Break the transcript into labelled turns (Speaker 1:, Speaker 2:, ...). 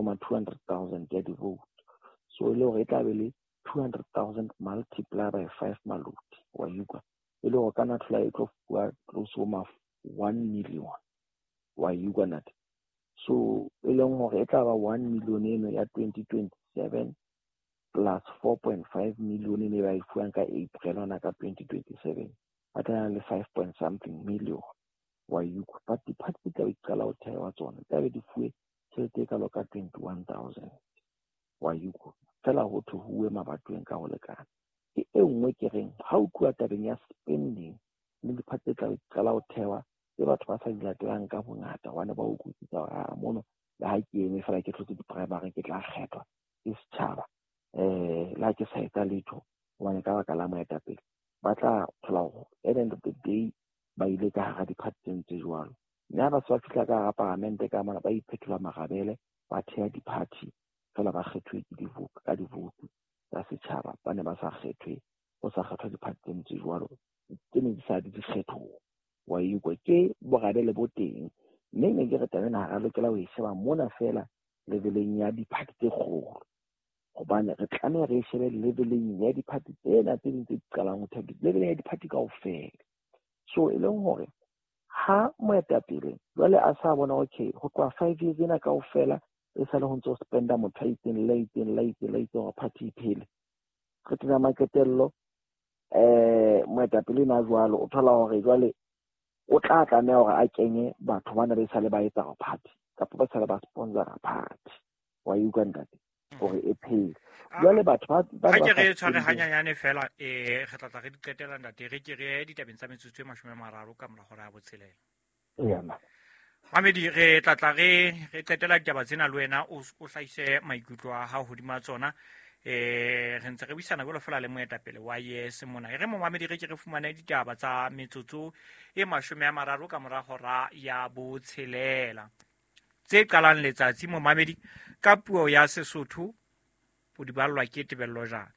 Speaker 1: ma 200,000 ya di-vote. So e le hore e tla be le 200,000 multiply by 5 maloti, wa utlwa, e le hore ka na thola e tlo fuwa close ho ma 1 million, wa utlwa ntate. So e leng hore e tla ba 1 million eno ya 2027 plus 4.5 million e ba e fuwang ka April hona ka 2027, ba tla le 5 point something million, wa utlwa. But di-party tse tla be di qala ho thewa tsona tla be di fuwe tjhelete e kalo ka 21,000, wa utlwa. Fela ho thwe huwe mabatoweng ka ho lekana. Ke e nngwe ke reng ha o tluwa tabeng ya spending le di-party tse tla be di qala ho thewa tse batho ba sa di latelang ka bongata, hobane ba utlwisisa hore a mono le ha ke eme fela ke tlotse di-primary ke tla kgethwa ke setjhaba, le ha ke sa etsa letho hobane ka baka la moetapele, ba tla thola hore at the end of the day ba ile ka hara di-party tse ntse jwalo. Mme ha ba se ba fihla ka hara paramente ka mona, ba iphethola marabele, ba theha di-party fela ba kgethuwe ke di-vote, ka di-vote tsa setjhaba. Ba ne ba sa kgethwe, ho sa kgethwa di-party tse ntse jwalo tse ne di sa di dikgethong, wa utlwa. Ke borabele bo teng, mme ne ke re taba ena ha ra lokela ho e sheba mona fela leveleng ya di-party tse kgolo, hobane re tlameha re e shebe leveleng ya di-party tsena tse ding tse di qalang ho theha, leveleng ya di-party kaofela. So e leng hore ha moetapele jwale a sa bona okay ho tloha 5 years ena kaofela e sale ho ntso spenda motho a itseng le itseng le itseng le itseng hore party e phele, qetella maqetello moetapele ena jwalo o thola hore jwale o tla tlameha hore a kenye batho bana ba sale ba etsa party kapa ba sale ba sponsora party, wa utlwa ntate, hore e phele. Jwale batho ba
Speaker 2: ha ke re tshware hanyanyane fela, re tla tla re di qetela ntate, re ke re ditabeng tsa metsotso e 30 ka mora hora ya 6.
Speaker 1: Eya ma.
Speaker 2: Mamedi, re tla tla re qetela ditaba tsena le wena, o hlahise maikutlo a hao hodima tsona. Re ntse re buisana jwalo fela le moetapele wa YES mona. E re momamedi re ke re fumane ditaba tsa metsotso e 30 ka mora hora ya 6. Tse qalang letsatsi momamedi ka puo ya Sesotho o di ballwa ke Tebello Jane.